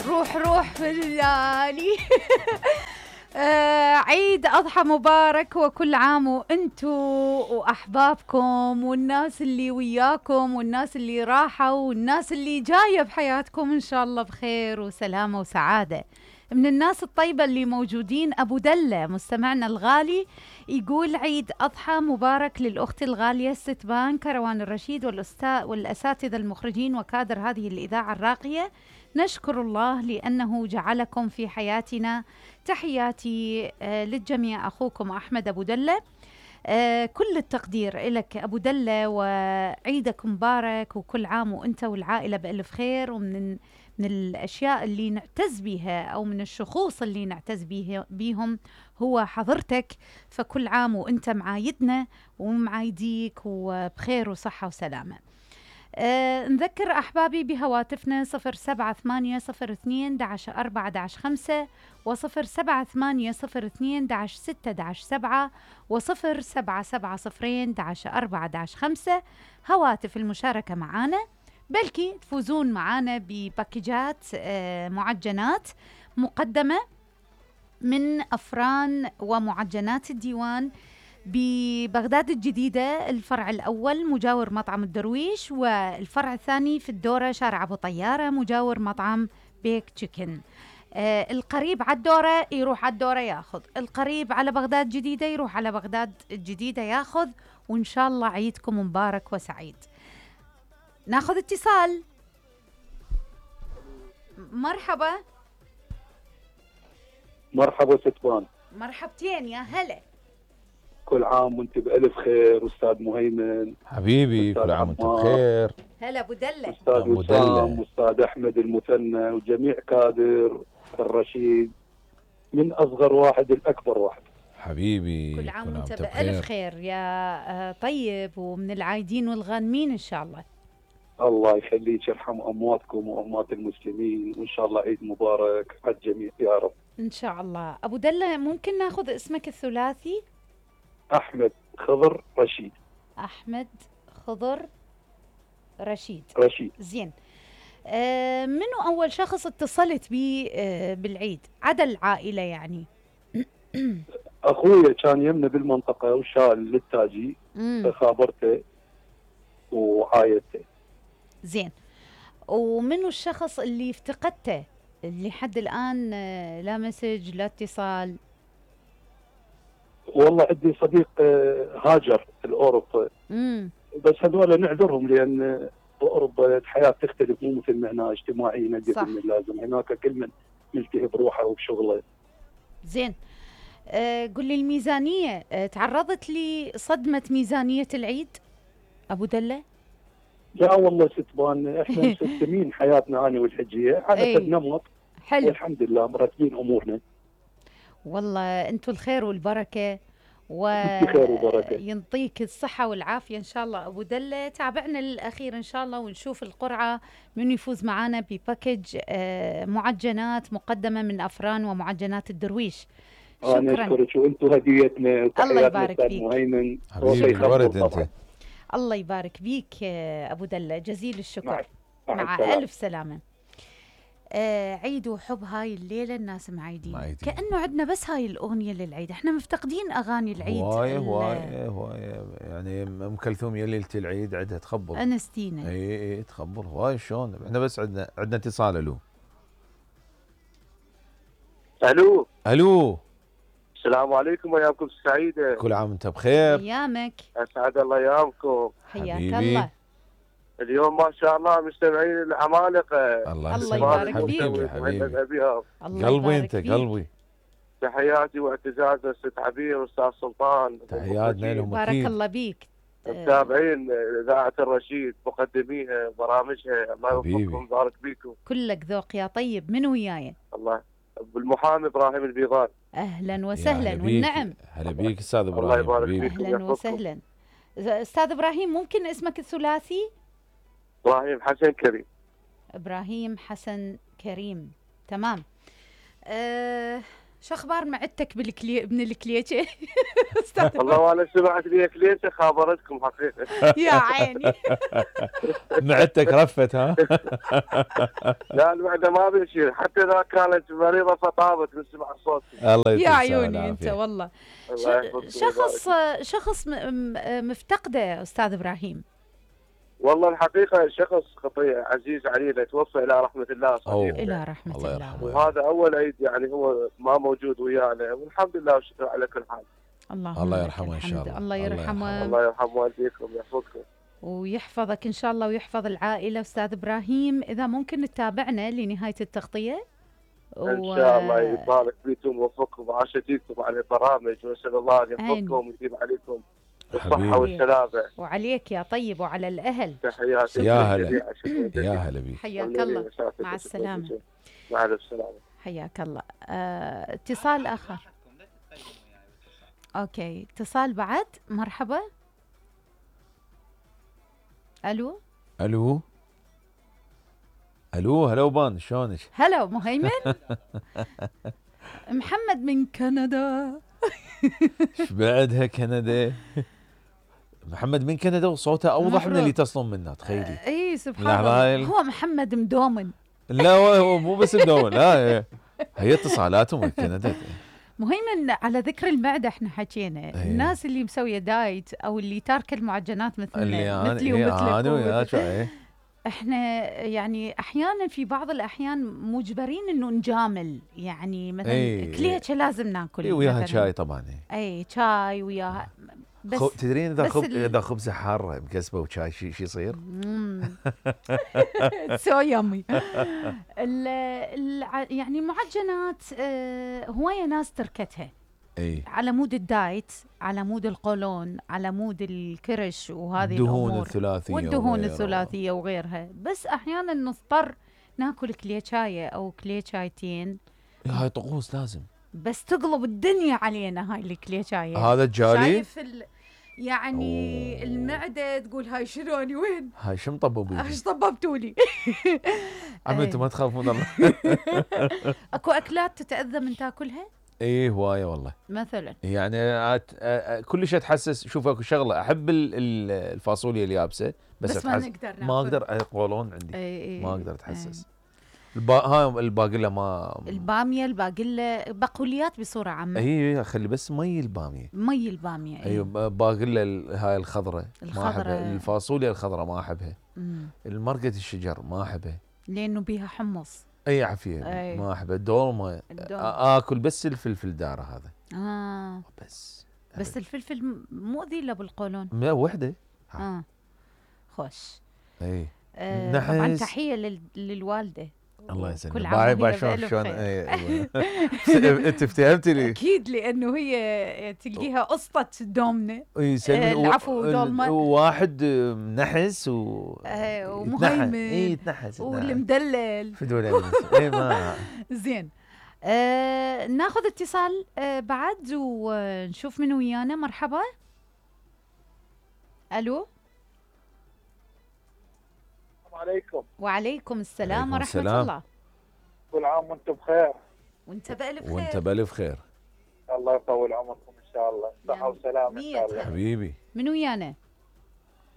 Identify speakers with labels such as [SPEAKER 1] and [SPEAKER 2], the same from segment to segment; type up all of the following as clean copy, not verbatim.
[SPEAKER 1] روح في الليالي. عيد أضحى مبارك، وكل عام وانتو وأحبابكم والناس اللي وياكم والناس اللي راحوا والناس اللي جاية بحياتكم إن شاء الله بخير وسلامة وسعادة. من الناس الطيبة اللي موجودين أبو دلة مستمعنا الغالي يقول عيد أضحى مبارك للأخت الغالية ستبان كروان الرشيد والأساتذة المخرجين وكادر هذه الإذاعة الراقية. نشكر الله لأنه جعلكم في حياتنا. تحياتي للجميع، أخوكم أحمد أبو دلة. كل التقدير لك أبو دلة، وعيدك مبارك وكل عام وأنت والعائلة بألف خير. ومن الأشياء اللي نعتز بها أو من الشخوص اللي نعتز بيهم هو حضرتك، فكل عام وأنت معايدنا ومعايديك وبخير وصحة وسلامة. نذكر أحبابي بهواتفنا 07802-4-5 و07802-6-7 و0770-4-5 هواتف المشاركة معنا، بلكي تفوزون معنا بباكيجات معجنات مقدمة من أفران ومعجنات الديوان ببغداد الجديدة، الفرع الأول مجاور مطعم الدرويش، والفرع الثاني في الدورة شارع أبو طيارة مجاور مطعم بيك تشيكن. القريب على الدورة يروح على الدورة ياخذ، القريب على بغداد جديدة يروح على بغداد الجديدة ياخذ، وإن شاء الله عيدكم مبارك وسعيد. ناخذ اتصال. مرحبا.
[SPEAKER 2] مرحبا ستوان.
[SPEAKER 1] مرحبتين يا هلا.
[SPEAKER 2] كل عام وانت بألف خير أستاذ مهيمن
[SPEAKER 3] حبيبي، كل عام وانت بخير.
[SPEAKER 1] هلا أبو دلة.
[SPEAKER 2] أستاذ وسام وأستاذ أحمد المثنى وجميع كادر الرشيد من أصغر واحد الأكبر واحد.
[SPEAKER 3] حبيبي
[SPEAKER 1] كل عام وانت بألف خير يا طيب، ومن العايدين والغانمين إن شاء الله.
[SPEAKER 2] الله يخليك، يرحم أمواتكم وأموات المسلمين، وإن شاء الله عيد مبارك على الجميع يا رب
[SPEAKER 1] إن شاء الله. أبو دلة ممكن ناخذ اسمك الثلاثي؟
[SPEAKER 2] أحمد خضر رشيد.
[SPEAKER 1] أحمد خضر رشيد. زين. منو أول شخص اتصلت بي بالعيد عدا العائلة يعني؟
[SPEAKER 2] أخويا كان يمنا بالمنطقة وشال للتاجي، فخابرته وعايدته.
[SPEAKER 1] زين. ومنو الشخص اللي افتقدته اللي حد الآن لا مسج لا اتصال؟
[SPEAKER 2] والله عندي صديق هاجر الأوروبا، بس هذول نعذرهم لأن بأوروبا الحياة تختلف، مو مثل ما هنا اجتماعيا قد من اللازم. هناك كل من ملتهي بروحه وبشغله.
[SPEAKER 1] زين. قل لي الميزانية، تعرضت لصدمة ميزانية العيد أبو دلة؟
[SPEAKER 2] لا والله ستبان، احنا مسستمين حياتنا أنا والحجية على حسب نمط. حلو والحمد لله مرتبين أمورنا.
[SPEAKER 1] والله أنتوا الخير والبركة ينطيك الصحة والعافية إن شاء الله أبو دلة. تابعنا للأخير إن شاء الله ونشوف القرعة من يفوز معنا بباكج معجنات مقدمة من أفران ومعجنات الدرويش. شكرا.
[SPEAKER 2] أنا أشكرك وأنتوا هديتنا.
[SPEAKER 1] الله يبارك فيك
[SPEAKER 2] مهيمن.
[SPEAKER 1] الله يبارك بيك أبو دلة، جزيل الشكر. مع ألف سلامة. عيد وحب هاي الليلة الناس معيدين كأنه عندنا بس هاي الأغنية للعيد. احنا مفتقدين أغاني العيد.
[SPEAKER 3] هواي يعني أم كلثوم يا ليلة العيد عندها تخبر.
[SPEAKER 1] أنستينا.
[SPEAKER 3] اي تخبر هواي. شلون احنا بس عندنا اتصال. الو.
[SPEAKER 4] السلام عليكم وايامكم سعيدة.
[SPEAKER 3] كل عام وانت بخير.
[SPEAKER 1] ايامك.
[SPEAKER 4] اسعد الله ايامكم.
[SPEAKER 1] حياك الله.
[SPEAKER 4] اليوم ما شاء الله مستمعين العمالقة.
[SPEAKER 1] الله يبارك فيك
[SPEAKER 3] حبيبي. قلبي انت قلبي.
[SPEAKER 4] تحياتي واعتزازي ست عبير واستاذ سلطان.
[SPEAKER 3] تحياتنا لهم.
[SPEAKER 1] بارك الله بيك.
[SPEAKER 4] متابعين اذاعة الرشيد مقدميها برامجها، الله يوفقكم ويبارك بيكم.
[SPEAKER 1] كلك ذوق يا طيب. من وياي؟
[SPEAKER 4] الله بالمحامي ابراهيم البيضان.
[SPEAKER 1] اهلا وسهلا والنعم.
[SPEAKER 3] هلا بيك استاذ ابراهيم.
[SPEAKER 4] الله يبارك فيك.
[SPEAKER 1] اهلا وسهلا استاذ ابراهيم. ممكن اسمك الثلاثي؟
[SPEAKER 4] ابراهيم حسن كريم.
[SPEAKER 1] ابراهيم حسن كريم. تمام. شو اخبار معدتك من الكليشه؟ استاذ
[SPEAKER 4] والله وانا سمعت لي كليشه خابرتكم حقيقه.
[SPEAKER 1] يا عيني.
[SPEAKER 3] معدتك رفت ها؟
[SPEAKER 4] لا المعده ما بيشيل، حتى اذا كانت مريضه فطابت من سمع صوتي.
[SPEAKER 3] الله يعطيك
[SPEAKER 1] يا عيوني انت والله. شخص مفتقده استاذ ابراهيم.
[SPEAKER 4] والله الحقيقه شخص عزيز علينا، توفى الى رحمه الله صديقي.
[SPEAKER 1] الى رحمه الله.
[SPEAKER 4] وهذا اول عيد يعني هو ما موجود ويانا، والحمد لله والشكر على كل حال.
[SPEAKER 3] الله يرحمه ان شاء الله.
[SPEAKER 1] الله يرحمه.
[SPEAKER 4] الله يرحم والديكم ويحفظكم
[SPEAKER 1] ويحفظك ان شاء الله ويحفظ العائله. استاذ ابراهيم اذا ممكن تتابعنا لنهايه التغطيه
[SPEAKER 4] ان شاء الله يبارك فيكم ويوفقكم وعاشتيكم على البرامج، واسال الله ان يحفظكم ويديم عليكم الصحه والسلامه.
[SPEAKER 1] وعليك يا طيب وعلى الاهل.
[SPEAKER 4] تحياتي.
[SPEAKER 3] يا هلا يا هلا بيك.
[SPEAKER 1] حياك الله. مع السلامه.
[SPEAKER 4] مع السلامه.
[SPEAKER 1] حياك الله. اتصال اخر. اوكي اتصال بعد. مرحبا. الو
[SPEAKER 3] الو الو. هلا وبان شلونك؟
[SPEAKER 1] هلا مهيمن. محمد من كندا.
[SPEAKER 3] ايش بعدها كندا؟ محمد من كندا وصوته اوضح من اللي تصلون منه، تخيلي.
[SPEAKER 1] اي سبحان الله. هو محمد مدومن.
[SPEAKER 3] لا هو مو بس مدومن، لا هي اتصالاتهم من كندا.
[SPEAKER 1] مهيمن على ذكر المعده احنا حكينا. الناس اللي مسويه دايت او اللي تاركه المعجنات مثلي ومثلك احنا يعني احيانا في بعض الاحيان مجبرين انه نجامل، يعني مثلا كليتشه لازم ناكل
[SPEAKER 3] وياها شاي طبعا.
[SPEAKER 1] اي شاي وياها. بس
[SPEAKER 3] تدرين اذا خبزه حاره مكسبه وشاي شو يصير؟
[SPEAKER 1] سو يامي. يعني معجنات هوايه ناس تركتها على مود الدايت، على مود القولون، على مود الكرش وهذه
[SPEAKER 3] الدهون الثلاثيه
[SPEAKER 1] والدهون الثلاثيه وغيرها. بس احيانا نضطر ناكل كليتشايه او كليتشايتين.
[SPEAKER 3] هاي طقوس لازم،
[SPEAKER 1] بس تقلب الدنيا علينا هاي الكليتشايه.
[SPEAKER 3] هذا الجالي
[SPEAKER 1] شايف يعني المعده تقول هاي شلوني وين؟
[SPEAKER 3] هاي شو مطببين؟
[SPEAKER 1] ايش طببتوا لي؟
[SPEAKER 3] عم انتم ما تخافون الله.
[SPEAKER 1] اكو اكلات تتاذى من تاكلها؟
[SPEAKER 3] ايه هوايه والله.
[SPEAKER 1] مثلا
[SPEAKER 3] يعني كل شيء اتحسس. شوف اكو شغله احب الفاصوليا اليابسه، بس ما اقدر قولون عندي. ما اقدر اتحسس. هاي الباقله ما
[SPEAKER 1] الباميه الباقله بقوليات بصوره عامه.
[SPEAKER 3] اي خلي بس مي الباميه.
[SPEAKER 1] ايوه
[SPEAKER 3] باقله هاي الخضراء ما احبها. الفاصوليا الخضراء ما احبها. المرقه الشجر ما احبها
[SPEAKER 1] لانه بيها حمص.
[SPEAKER 3] اي عافيه. ما احبها. الدولمه اكل بس الفلفل داره هذا. بس
[SPEAKER 1] الفلفل مؤذي له بالقولون.
[SPEAKER 3] لا وحده.
[SPEAKER 1] خوش.
[SPEAKER 3] اي
[SPEAKER 1] طبعا تحيه للوالده.
[SPEAKER 3] الله يسلمك. باي شلون انت افتهمتي لي؟
[SPEAKER 1] اكيد لانه هي تلقيها قسطه دومنه. العفو دولمه.
[SPEAKER 3] وواحد منحس
[SPEAKER 1] ومهيمن.
[SPEAKER 3] يتنحس
[SPEAKER 1] والمدلل
[SPEAKER 3] فدول. اي ما
[SPEAKER 1] زين. ناخذ اتصال بعد ونشوف من ويانا. مرحبا. الو.
[SPEAKER 4] عليكم.
[SPEAKER 1] وعليكم السلام ورحمة الله.
[SPEAKER 4] كل عام وانتم بخير.
[SPEAKER 1] وانت بألف خير.
[SPEAKER 3] وانت بألف خير.
[SPEAKER 4] الله يطول عمركم ان شاء الله، صحة وسلامة ان شاء الله.
[SPEAKER 3] حبيبي.
[SPEAKER 1] من ويانا؟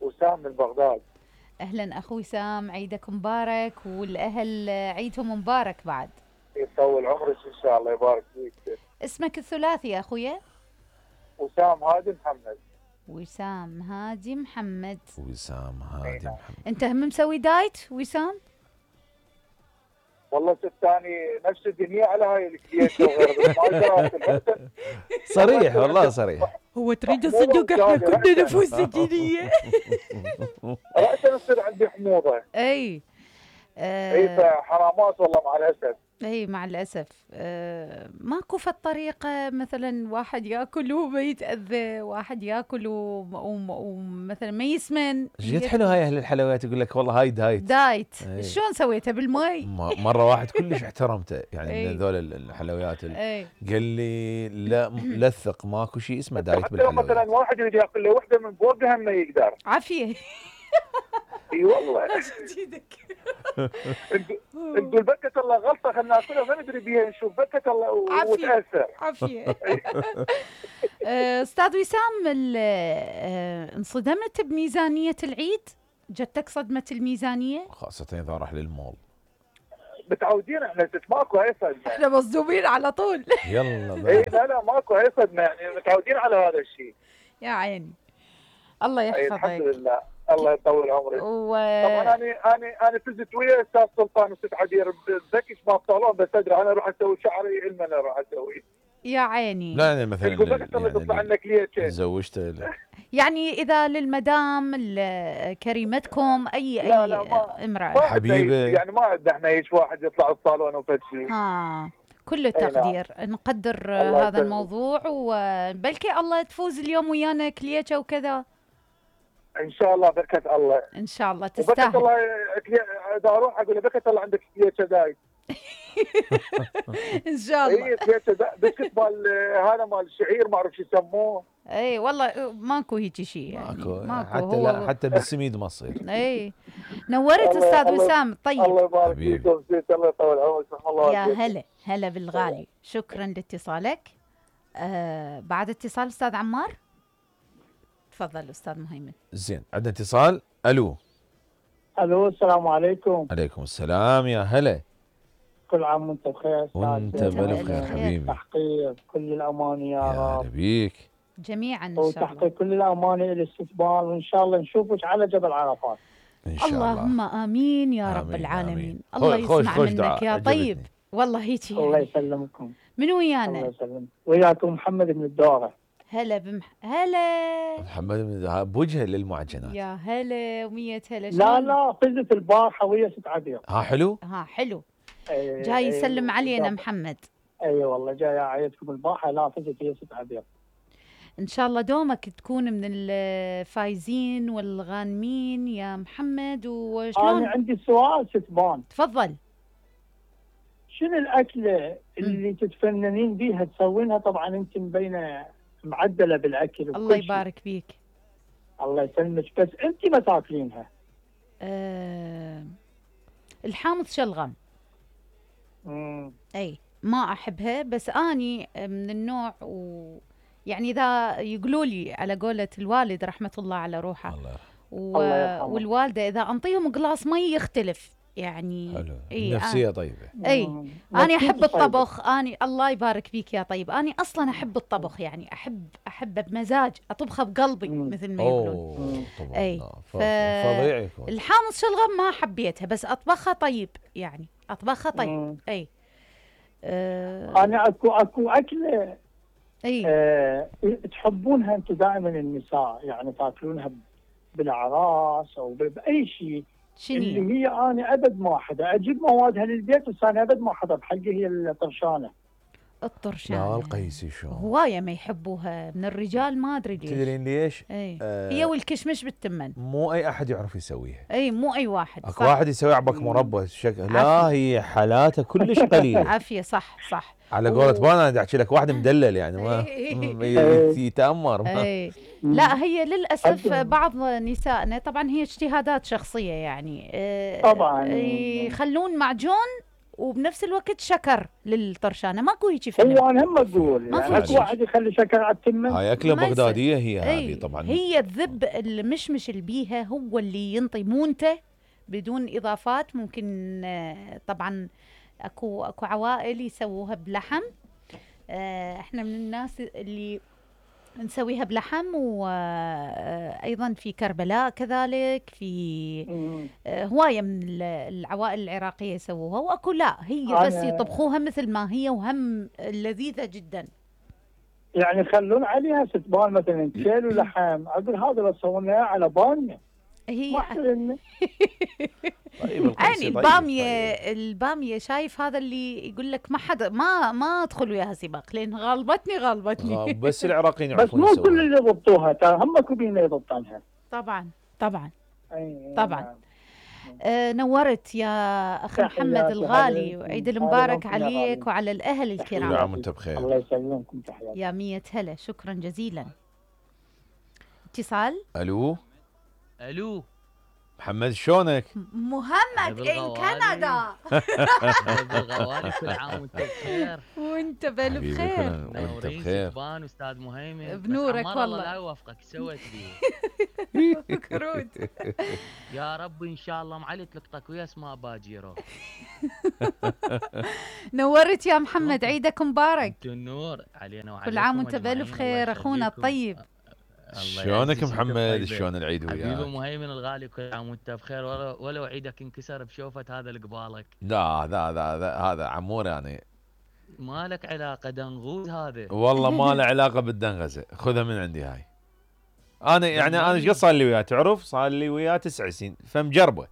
[SPEAKER 4] وسام من بغداد.
[SPEAKER 1] اهلا اخوي سام، عيدك مبارك والاهل عيدهم مبارك بعد.
[SPEAKER 4] يطول عمرك ان شاء الله، يبارك فيك.
[SPEAKER 1] اسمك الثلاثي يا اخويا؟
[SPEAKER 4] وسام هادي محمد.
[SPEAKER 1] وسام هادي محمد.
[SPEAKER 3] وسام هادي محمد.
[SPEAKER 1] انت هم مسوي دايت وسام؟
[SPEAKER 4] والله ستاني نفس الدنيا على هاي الكليتشه وغيرها.
[SPEAKER 3] صريح والله صريح.
[SPEAKER 1] هو تريد تصدق احنا كنا نفوس دينيه.
[SPEAKER 4] رأسا يصير عندي حموضه.
[SPEAKER 1] اي
[SPEAKER 4] حرامات والله مع الاسف.
[SPEAKER 1] اي مع الاسف. ماكو في الطريقه مثلا واحد ياكل وما يتاذى، واحد ياكل ومثلا ما يسمن.
[SPEAKER 3] جد حلو هاي اهل الحلويات يقول لك والله هاي دايت.
[SPEAKER 1] شلون سويتها بالماء؟
[SPEAKER 3] مره واحد كلش احترمته يعني من هذول الحلويات قال لي لا لثق ماكو شيء اسمه دايت بالحلويات.
[SPEAKER 4] مثلا واحد يريد ياكل له وحده من فوقها ما يقدر.
[SPEAKER 1] عافيه.
[SPEAKER 2] اي والله نقول بكت الله غلطه خلينا ناكلها ما ندري بيها نشوف بكت الله وتاثر.
[SPEAKER 1] عافيه. استاذ وسام، انصدمت بميزانيه العيد؟ جتك صدمه الميزانيه؟
[SPEAKER 3] خاصه اذا راح للمول.
[SPEAKER 2] متعودين احنا ماكو هاي صدمه،
[SPEAKER 1] احنا مصدومين على طول.
[SPEAKER 3] يلا
[SPEAKER 2] اي لا ماكو هاي صدمه، يعني متعودين على هذا الشيء.
[SPEAKER 1] يا عيني الله يحفظك.
[SPEAKER 2] الحمد لله الله يطول عمرك. طبعا انا فزت ويا استاذ سلطان وست عبير بذكش ما الصالون، بس ادري انا اروح اسوي شعري علما انا اروح اسوي.
[SPEAKER 1] يا عيني.
[SPEAKER 3] لا انا مثلا
[SPEAKER 2] يعني تطلع لك ليه
[SPEAKER 3] تزوجت
[SPEAKER 1] يعني اذا للمدام كريمتكم اي امراه
[SPEAKER 3] حبيبه،
[SPEAKER 2] يعني ما عندنا احنا هيك واحد يطلع الصالون وفد شيء.
[SPEAKER 1] كل التقدير. نقدر هذا الموضوع، وبلكي الله تفوز اليوم ويانا كليتشا وكذا
[SPEAKER 2] ان شاء الله. بركه الله
[SPEAKER 1] ان شاء الله تستاهل.
[SPEAKER 2] بركه الله. اذا اروح اقول بركه الله عندك كليتشا داي.
[SPEAKER 1] ان شاء الله.
[SPEAKER 2] اي كليتشا بسكت مال هذا مال الشعير ما اعرف شو يسموه.
[SPEAKER 1] اي والله ماكو هيك شيء يعني.
[SPEAKER 3] ماكو حتى بالسميد ما تصير.
[SPEAKER 1] اي نورت استاذ وسام. طيب
[SPEAKER 2] الله يبارك فيكم، الله يطول عمرك. الله
[SPEAKER 1] يا هلا بالغالي. شكرا لاتصالك. بعد اتصال استاذ عمار. تفضل استاذ مهيمن.
[SPEAKER 3] زين عندنا اتصال. الو
[SPEAKER 2] السلام عليكم.
[SPEAKER 3] عليكم السلام. يا هلا.
[SPEAKER 2] كل عام وانت بخير.
[SPEAKER 3] وانت بالف خير حبيبي.
[SPEAKER 2] تحقيق كل الاماني يا رب.
[SPEAKER 3] يا بيك
[SPEAKER 1] جميعا ان شاء الله.
[SPEAKER 2] وتحقيق كل الاماني الاستقبال، وان شاء الله نشوفك على جبل عرفات
[SPEAKER 3] ان شاء الله.
[SPEAKER 1] اللهم امين يا رب العالمين. الله يسمع منك يا طيب. والله هيك
[SPEAKER 2] الله يسلمكم.
[SPEAKER 1] من ويانا؟
[SPEAKER 2] الله يسلمك. وياكم محمد من الدوره.
[SPEAKER 1] هلا هلا
[SPEAKER 3] محمد من بوجهه للمعجنات.
[SPEAKER 1] يا هلا ومية هلا.
[SPEAKER 2] لا فزت البارحه ويا ست عبير.
[SPEAKER 3] حلو.
[SPEAKER 1] حلو. جاي يسلم علينا محمد.
[SPEAKER 2] اي والله جاي اعيدكم البارحه. لا فزت ويا ست عبير.
[SPEAKER 1] ان شاء الله دومك تكون من الفايزين والغانمين يا محمد. وشلون؟
[SPEAKER 2] انا عندي سؤال ستبان.
[SPEAKER 1] تفضل.
[SPEAKER 2] شنو الاكله اللي تتفننين بيها تسوينها؟ طبعا انت مبينه معدله بالاكل.
[SPEAKER 1] الله يبارك فيك.
[SPEAKER 2] الله يسلمك. بس انت ما تاكلينها.
[SPEAKER 1] الحامض شلغم. اي ما احبها، بس اني من النوع يعني اذا يقولوا لي على قولة الوالد رحمه الله على روحه والوالده، اذا انطيهم قلاص مي يختلف يعني.
[SPEAKER 3] حلو. النفسيه طيبه.
[SPEAKER 1] انا احب الطبخ. اني الله يبارك فيك يا طيب. اني اصلا احب الطبخ، يعني احبه بمزاج، اطبخه بقلبي مثل ما يقولون.
[SPEAKER 3] اي فظيع.
[SPEAKER 1] الحامض شلغم ما حبيتها، بس اطبخها طيب يعني. اطبخها طيب. اي
[SPEAKER 2] انا اكو اكله تحبونها انتم دائما النساء، يعني تاكلونها بالاعراس او باي شيء. اللي هي انا ابد ما حدا اجيب موادها للبيت، بس انا ابد ما حدا بحقي هي الطرشانه.
[SPEAKER 3] لا القيسي شو
[SPEAKER 1] هوايه ما يحبوها من الرجال، ما ادري ليش.
[SPEAKER 3] تدرين ليش؟
[SPEAKER 1] هي والكشمش بالتمن.
[SPEAKER 3] مو اي احد يعرف يسويها.
[SPEAKER 1] مو اي واحد.
[SPEAKER 3] اكو واحد يسوي عبك مربى شكل. لا هي حالاته كلش قليله.
[SPEAKER 1] عافيه. صح
[SPEAKER 3] على قولة بانا بدي احكي لك واحد مدلل يعني ما يتامر.
[SPEAKER 1] لا هي للاسف بعض نسائنا، طبعا هي اجتهادات شخصيه يعني،
[SPEAKER 2] طبعا
[SPEAKER 1] يخلون معجون وبنفس الوقت شكر للطرشانه. ماكو هيك فيلم.
[SPEAKER 2] هو انا هم اقول يعني اكو واحد يخلي شكر على التمن.
[SPEAKER 3] هاي اكله بغداديه هي هذه طبعا.
[SPEAKER 1] هي الذب المشمش اللي بيها هو اللي ينطي مونته بدون اضافات. ممكن طبعا اكو عوائل يسووها بلحم. احنا من الناس اللي نسويها بلحم، وايضا في كربلاء كذلك، في هوايه من العوائل العراقيه يسووها، واكو لا هي بس يطبخوها مثل ما هي، وهم لذيذه جدا.
[SPEAKER 2] يعني يخلون عليها ستبان مثلا كيلو لحم، اقول هذا لو سوينا على باميه
[SPEAKER 1] هي
[SPEAKER 3] طيب
[SPEAKER 1] يعني الباميه شايف هذا اللي يقول لك ما حدا ما ادخل وياها سباق لين غالبتني.
[SPEAKER 3] بس العراقيين يعرفون
[SPEAKER 2] بس مو كل اللي يضبطوها، هم كوبين يضبطونها.
[SPEAKER 1] طبعا نورت يا اخي محمد الغالي، وعيد المبارك عليك وعلى الاهل الكرام.
[SPEAKER 3] كل عام وانت بخير.
[SPEAKER 2] الله يسلمكم. تحياتي
[SPEAKER 1] يا 100 هلا. شكرا جزيلا. اتصال.
[SPEAKER 3] الو محمد شلونك؟
[SPEAKER 1] مهند ان كندا.
[SPEAKER 5] بالغوالي كل عام وانت بخير.
[SPEAKER 1] وانت بخير.
[SPEAKER 3] وانت بخير.
[SPEAKER 5] سبان استاذ مهيمن
[SPEAKER 1] بنورك والله.
[SPEAKER 5] لا يوفقك سويت بيه.
[SPEAKER 1] كرود.
[SPEAKER 5] يا رب ان شاء الله معلي تلقطك ويا اسماء باجيرو.
[SPEAKER 1] نورت يا محمد، عيدك مبارك.
[SPEAKER 5] انت النور علينا وعليكم.
[SPEAKER 1] كل عام وانت بالف خير اخونا الطيب.
[SPEAKER 3] شلونك محمد؟ شلون العيد وياك؟
[SPEAKER 5] حبيبي مهيمن الغالي، كل عام وانت بخير، ولو عيدك انكسر بشوفة هذا اللي قبالك.
[SPEAKER 3] لا هذا عمور يعني.
[SPEAKER 5] ما لك علاقة دنغوز هذا.
[SPEAKER 3] والله ما له علاقة بالدنغزة، خذها من عندي هاي. انا ايش قد صار لي وياه تعرف؟ صار لي وياه 9 سنين فمجربه.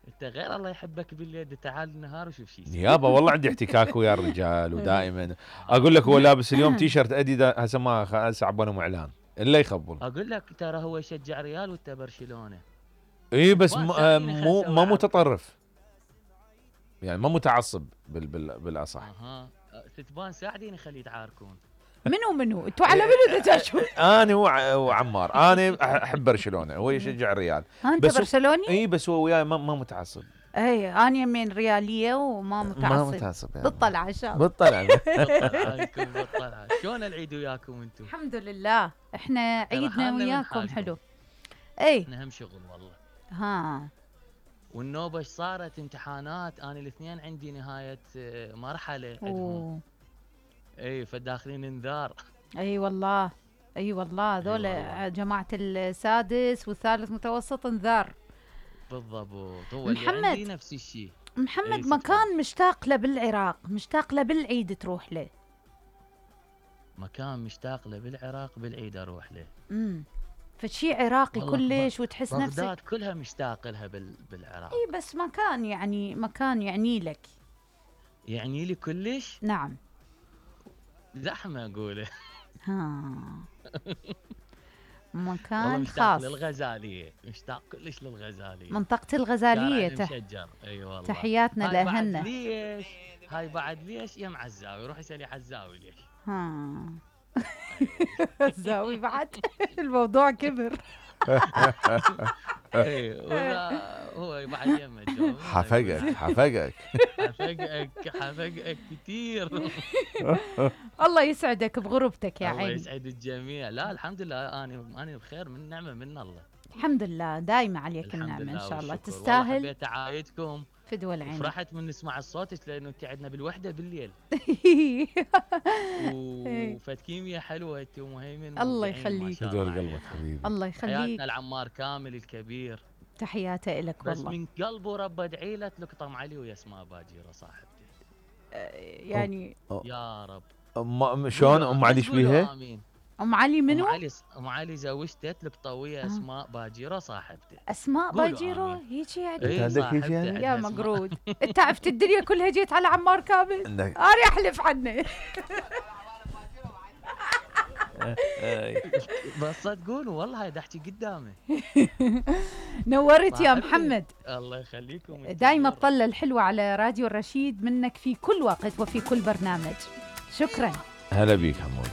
[SPEAKER 5] انت غير الله يحبك بالليل، تعال النهار وشوف شيء
[SPEAKER 3] يابا والله عندي احتكاك ويا الرجال ودائما اقول لك هو لابس اليوم تيشرت اديداس، هسه ما هسه عبالهم اعلان الا يخبل.
[SPEAKER 5] اقول لك ترى هو يشجع ريال وانت برشلونه.
[SPEAKER 3] اي بس مو متطرف يعني، ما متعصب بالاصح.
[SPEAKER 5] ستبان ساعديني خليه يتعاركون.
[SPEAKER 1] منو انتوا على منو تتشون؟
[SPEAKER 3] انا وعمار، انا احب برشلونه، هو يشجع الريال.
[SPEAKER 1] انت برشلوني؟
[SPEAKER 3] اي بس هو وياي ما متعصب.
[SPEAKER 1] اي انا يمين رياليه وما متعصب.
[SPEAKER 3] ما متعصب يعني.
[SPEAKER 1] بالطلعه ان شاء الله.
[SPEAKER 3] بالطلعه.
[SPEAKER 5] بالطلعه. شلون العيد وياكم انتم؟
[SPEAKER 1] الحمد لله احنا عيدنا وياكم حلو. اي
[SPEAKER 5] احنا هم شغل والله.
[SPEAKER 1] ها
[SPEAKER 5] والنوبه ايش صارت؟ امتحانات، انا الاثنين عندي نهايه مرحله عندهم. اي فداخلين انذار.
[SPEAKER 1] اي والله هذول جماعه السادس والثالث متوسط انذار.
[SPEAKER 5] بالضبط. هو اللي عندي نفس الشيء.
[SPEAKER 1] محمد مكان مشتاق له بالعراق، مشتاق له بالعيد تروح له.
[SPEAKER 5] مكان مشتاق له بالعراق بالعيد اروح له.
[SPEAKER 1] فشي عراقي كلش وتحس نفسك.
[SPEAKER 5] بغداد كلها مشتاق لها بالعراق.
[SPEAKER 1] اي بس مكان يعني لك.
[SPEAKER 5] يعني لي كلش؟
[SPEAKER 1] نعم.
[SPEAKER 5] زحمه اقوله.
[SPEAKER 1] مكان
[SPEAKER 5] خاص. للغزاليه، مشتاق كلش للغزاليه.
[SPEAKER 1] منطقه الغزاليه
[SPEAKER 5] مشجر. اي والله.
[SPEAKER 1] تحياتنا لاهلنا.
[SPEAKER 5] ليش؟ هاي بعد ليش يا مع الزاوي؟ روح اسالي على الزاوي ليش.
[SPEAKER 1] الزاوي بعد الموضوع كبر.
[SPEAKER 5] هو بعد يمه
[SPEAKER 3] حفقك
[SPEAKER 5] كثير.
[SPEAKER 1] الله يسعدك بغربتك يا عيني.
[SPEAKER 5] الله يسعد الجميع. لا الحمد لله انا بخير، من نعمه من الله.
[SPEAKER 1] الحمد لله دايما عليك النعمه ان شاء الله. تستاهل.
[SPEAKER 5] حبيت اعايدكم
[SPEAKER 1] في دول عينك.
[SPEAKER 5] فرحت من نسمع الصوت لانه انت عندنا بالوحده بالليل. وفد كيمياء حلوه انت ومهيمن.
[SPEAKER 1] الله يخليك.
[SPEAKER 3] دول قلبك حبيبي.
[SPEAKER 1] الله يخليك.
[SPEAKER 5] حياتنا العمار كامل الكبير.
[SPEAKER 1] تحياته لك والله.
[SPEAKER 5] بس من قلبه رب ادعي له تلقطم علي ويا اسماء باجيره صاحبتي.
[SPEAKER 1] يعني
[SPEAKER 5] يا رب.
[SPEAKER 3] شلون ام علي ايش بيها؟
[SPEAKER 1] ام علي منو؟
[SPEAKER 5] ام علي زوجته تلقطه ويا اسماء باجيره صاحبتي.
[SPEAKER 1] اسماء باجيره هيجي يعني؟
[SPEAKER 3] انت عندك هيجي يعني؟
[SPEAKER 1] يا مقرود انت عرفت الدنيا كلها جيت على عمار كامل. انا احلف عنه.
[SPEAKER 5] بس تقول والله هاي احكي قدامي.
[SPEAKER 1] نورت يا محمد.
[SPEAKER 5] الله يخليكم.
[SPEAKER 1] دايما تطلع الحلوة على راديو الرشيد منك في كل وقت وفي كل برنامج. شكرا.
[SPEAKER 3] هلا بيك حمودي.